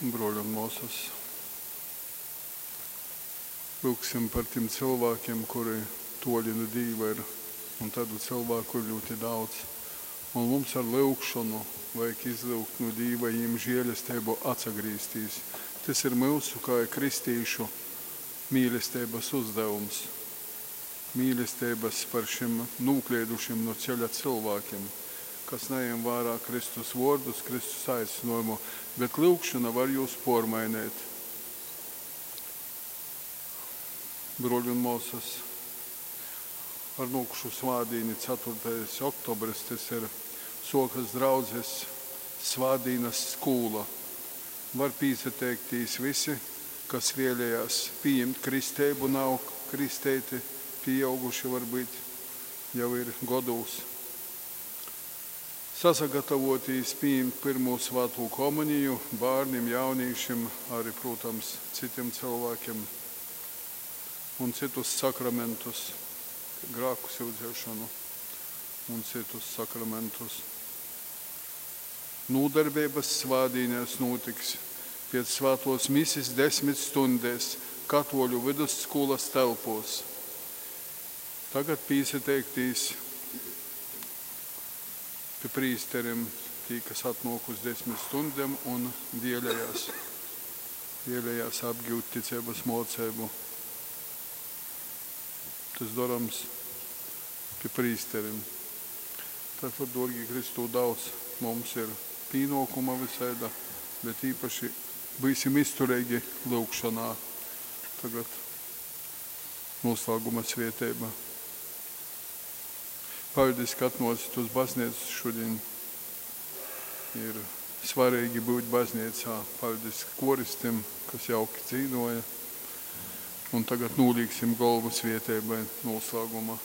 Bruoļi un muosys, lyugsim par tim cylvākim, kuri tuoli nu Dīva ir, un taidu cylvāku ir ļūti daudz. Un mums ar lyugšonu vajag izlyugt nu Dīva jim žielesteibu atsagrīztīs. Tys ir myusu kai kristīšu mīlesteibys uzdevums. Mīlesteibys par šim nūkleidušim nu ceļa cylvākim, kas najem vārā Kristus vuordus, Kristus aicynuojumu, bet lyugšona var jūs puormaineit. Bruoļi un muosys, ar nuokušu svātdīni, 4. oktobris, tys ir, suokas draudzes svātdīnas skūla. Var pīsateiktīs visi, kas vēlējās pījimt kristeibu, nav kristeiti, pīauguši varbūt jau ir godūs. Sasagatavotīs pījimt pyrmū svātū komuniju bārnim, jaunīšim, arī, prūtams, citim cylvākim un cytus sakramentus, grāku syudzēšonu un cytus sakramentus. Nūdarbeibys svātdīnēs nūtiks piec svātuos misis 10 stundēs Katuoļu vidusskūlas telpuos. Tagad pīsateiktīs pi prīsterim, tī, kas atnuok uz 10 stundem un vēlējās apgiut ticeibys muoceibu. Tys dorams pi prīsterim. Tātad, duorgī Kristū, daudz mums ir pīnuokuma vysaida, bet īpaši byusim iztureigi lyugšonā. Tagad nūslāguma svieteiba. Paļdis, ka atnuocit uz bazneicu šudiņ. Ir svareigi byut bazneicā. Paļdis koristim, kas jauki dzīduoja. Un tagad nūliksim golvu svieteibai nūslāguma.